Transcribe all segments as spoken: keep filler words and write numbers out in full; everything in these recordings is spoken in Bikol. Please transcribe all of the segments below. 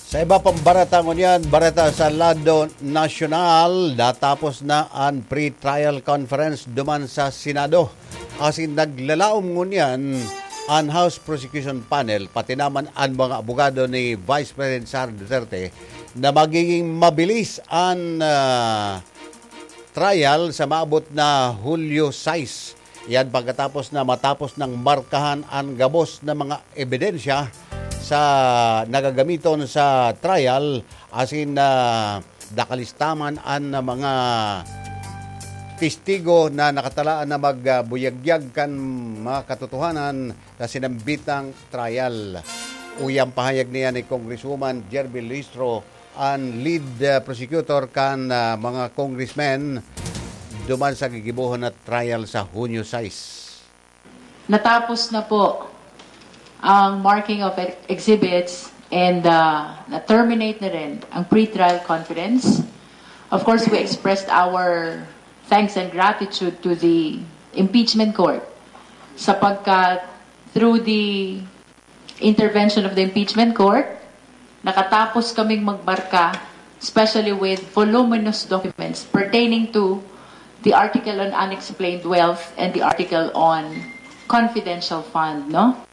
Sa iba pang bareta ngunyan, bareta sa lado nasyonal, natapos na an pre-trial conference duman sa Senado. Asin naglalaom ngunyan an House Prosecution Panel, pati naman an mga abogado ni Vice President Sara Duterte, na magiging mabilis an, ah, trial sa maabot na Hulyo sais. Yan pagkatapos na matapos nang markahan an gabos na mga ebidensya sa nagagamiton sa trial, asin, ah, nakalistaman an mga testigo na nakatalaan na magbuyagyag kan mga katotohanan sa sinambitang trial. Uyang pahayag niya ni Congresswoman Jerby Luistro, an lead, ah, prosecutor kan, ah, mga congressmen duman sa gigibohon na trial sa Hunyo sais. Natapos na po ang marking of ex- exhibits and, ah, na-terminate na rin ang pre-trial conference. Of course, we expressed our thanks and gratitude to the impeachment court sapagkat through the intervention of the impeachment court, nakatapos kaming magmarka, especially with voluminous documents pertaining to the article on unexplained wealth and the article on confidential fund, no?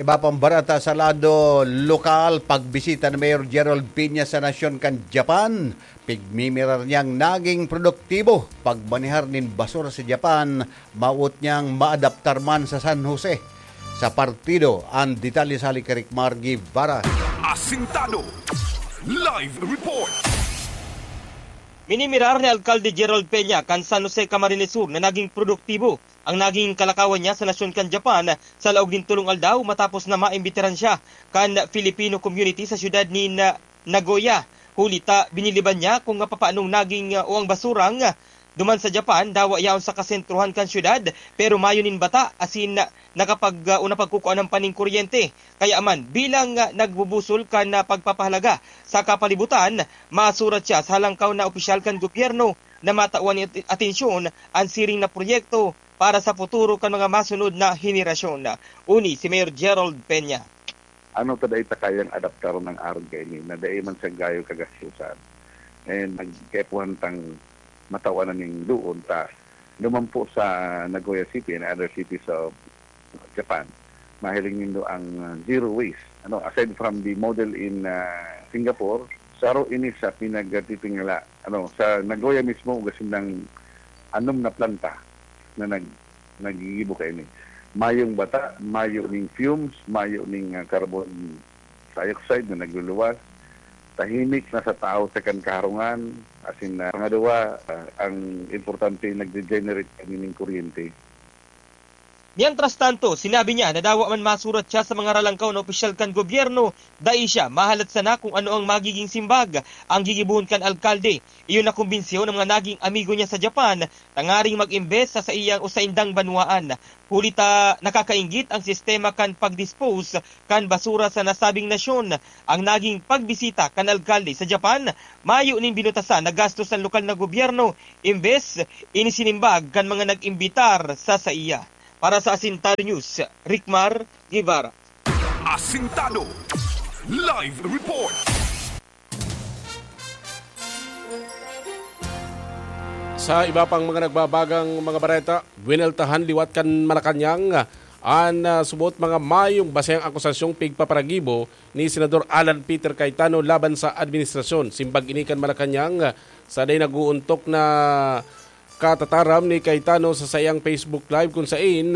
Iba pang bareta sa lado lokal, pagbisita ni Mayor Gerald Peña sa nasyon kan Japan, pigmimirar niyang naging produktibo pagmanehar nin basura sa Japan, mawot niyang maadaptar man sa San Jose. Sa partido, ang detalye sa hali kay Rick Mar Guevara. Asintado. Live report. Minimirar ni Alkalde Gerald Peña kan San Jose, Camarines Sur na naging produktibo ang naging kalakawan niya sa nasyon kan Japan sa laog nin tolong aldaw matapos na maimbitaran siya kan Filipino community sa siyudad nin, ah, Nagoya. Huli ta, biniliban niya kung papaanong naging, ah, o ang basurang, ah, duman sa Japan, dawa yaon sa kasentrohan kan siyudad, pero mayo nin bata, asin, ah, nakapag, ah, o napagkukuanan pa nin kuryente. Kaya man, bilang, ah, nagbubusol kan, ah, pagpapahalaga sa kapalibutan, masurat siya sa halangkaw na opisyal kan gobyerno na matawan nin at-, atensyon an siring na proyekto para sa futuro kan mga masunod na henerasyon. Uni si Mayor Gerald Peña. Ano ta dai ta kayang adaptaron ang arog kaini na dai man siya gayo kagastusan? And nagkaipuhan tang matawan na ning doon ta lumampo sa Nagoya City and other cities of Japan. Mahiling nindo ang, uh, zero waste. Ano, aside from the model in, uh, Singapore, saro ini sa pinagtitingala. Ano, sa Nagoya mismo, ugasin ng anom na planta na nag-, nagigibo kaini. Mayong bata, mayo ning fumes, mayo ning, ah, carbon dioxide na nagluluwas. Tahimik na sa tao sa kan kaharungan. Asin na, pangaduwa, ah, ang importante, nagde-generate kami ning kuryente. Mientras tanto, sinabi niya na dawa man masurat siya sa mga ralangkaw na opisyal kan gobyerno, dai siya mahalat sana kung ano ang magiging simbag ang gigibohon kan alkalde. Iyo na kumbinsiyon ang mga naging amigo niya sa Japan tangaring mag-imbes sa saiyang o saindang banwaan. Huli ta nakakainggit ang sistema kan pag-dispose kan basura sa nasabing nasyon. Ang naging pagbisita kan alkalde sa Japan, mayo nin binutasan na gastos sa lokal na gobyerno, imbes inisinimbag kan mga nag-imbitar sa saiya. Para sa Asintado News, Rickmar Guevara. Asintado. Live report. Sa iba pang mga nagbabagang mga bareta, wineltahan liwat kan Malacañang an, ah, subot mga mayong basehang akusasyong pigpaparagibo ni Senador Alan Peter Cayetano laban sa administrasyon. Simbag ini kan Malacañang, ah, sa dai nag-uuntok na katataram ni Cayetano sa saiyang Facebook Live, kun saen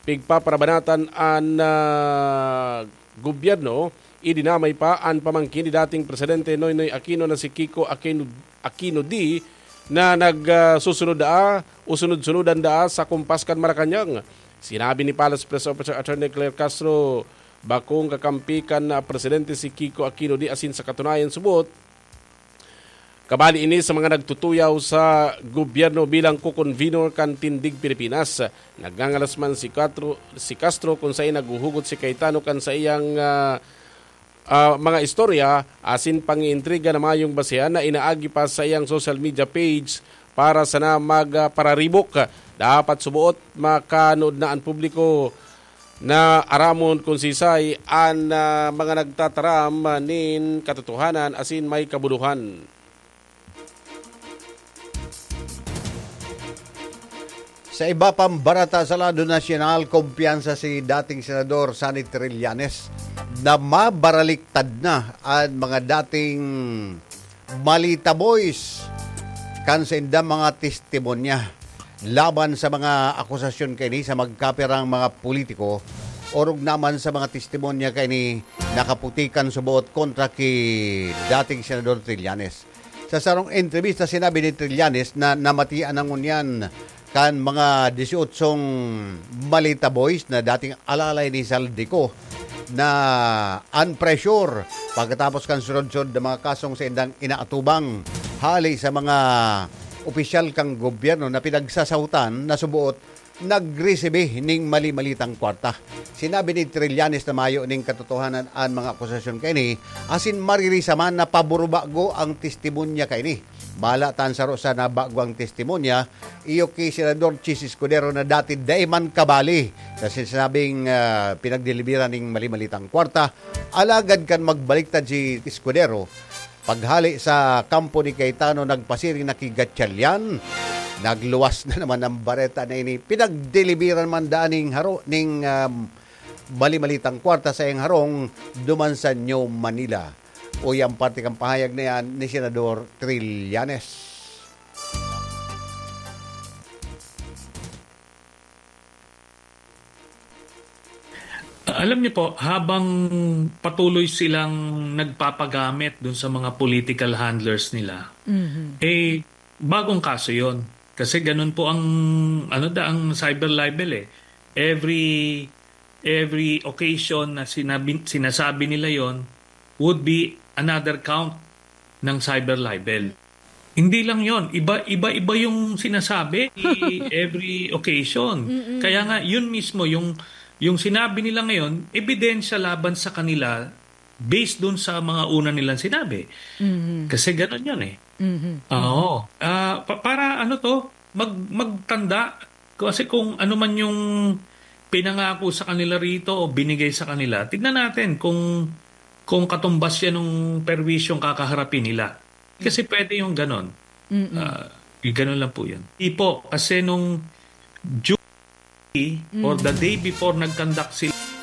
pigpaparabanatan an, ah, gobyerno. Idinamay pa an pamangkin ni dating Presidente Noynoy Aquino na si Kiko Aquino, Aquino D, na nag, ah, susunod daa o sunod-sunudan daa sa kumpas kan Malacañang. Sinabi ni Palace Press Officer Attorney Claire Castro, bakong kakampi kan, ah, presidente si Kiko Aquino D asin sa katunayan subot, kabali ini sa mga nagtutuyaw sa gobyerno bilang co-convenor kan Tindig Pilipinas. Nagngangalas man si Castro, si Castro kun saen naghuhugot si Cayetano kan saiyang, ah, ah, mga istorya asin pangiintriga na mayong basehan na inaagi pa sa iyang social media page para sana magpararibok. Dapat suboot makanood na an publiko na aramon kun sisay an, ah, mga nagtataram nin katotohanan asin may kabudohan. Sa iba pang barata sa lado nasyonal, kumpiyansa si dating Senador Sonny Trillanes na mabaraliktad na an mga dating Malita Boys kan saindang mga testimonya laban sa mga akusasyon kaini sa magkapirang mga politiko, orog naman sa mga testimonya kaini nakaputikan suboot kontra ki dating Senador Trillanes. Sa sarong entrebista, sinabi ni Trillanes na namatian na ngunyan kan mga disyotsyong Malita Boys na dating alalay ni Zaldy Co na an pressure pagkatapos kan sunod-sunod na mga kasong saindang inaatubang hali sa mga opisyal kan gobyerno na pinagsasahutan na suboot nagresibi ning mali-malitang kwarta. Sinabi ni Trillanes na mayo ning katotohanan an mga akusasyon kaini, asin maririsa man na pabor-bago ang testimonya kaini. Bahala ta an saro sa nabago ang testimonya, iyo ki Senador Chiz Escudero na dati dai man kabali sa sinasabing, ah, pinagdeliberan ning mali-malitang kwarta. Alagad kan magbaliktad si Escudero, paghali sa kampo ni Cayetano, nagpasiring na ki Gatchalian. Nagluwas na naman ang bareta na ini. Pinagdeliberan man daan ning haro, ning, um, mali-malitang kwarta sa iyang harong duman sa New Manila. Uya ang parte kan pahayag na yan ni Senador Trillanes. Alam niyo po, habang patuloy silang nagpapagamit dun sa mga political handlers nila, Mhm. eh, bagong kaso yon. Kasi ganun po ang, ano da, ang cyber libel eh. Every, every occasion na sinabi, sinasabi nila yon would be another count ng cyber libel. Hindi lang yon, iba, iba-iba yung sinasabi every occasion. Mm-mm. Kaya nga, yun mismo, yung, yung sinabi nila ngayon, ebidensya laban sa kanila based dun sa mga una nilang sinabi. Mhm. Kasi ganun yun eh. Mhm. Oo. Ah, pa-, para ano to, mag-, magtanda. Kasi kung ano man yung pinangako sa kanila rito o binigay sa kanila, tignan natin kung, kung katumbas yan ng perwisyong kakaharapin nila. Kasi pwede yung ganon. Mm-mm. Ah, yung ganon lang po yun. Di po, kasi nung June or the day before nag-conduct sila,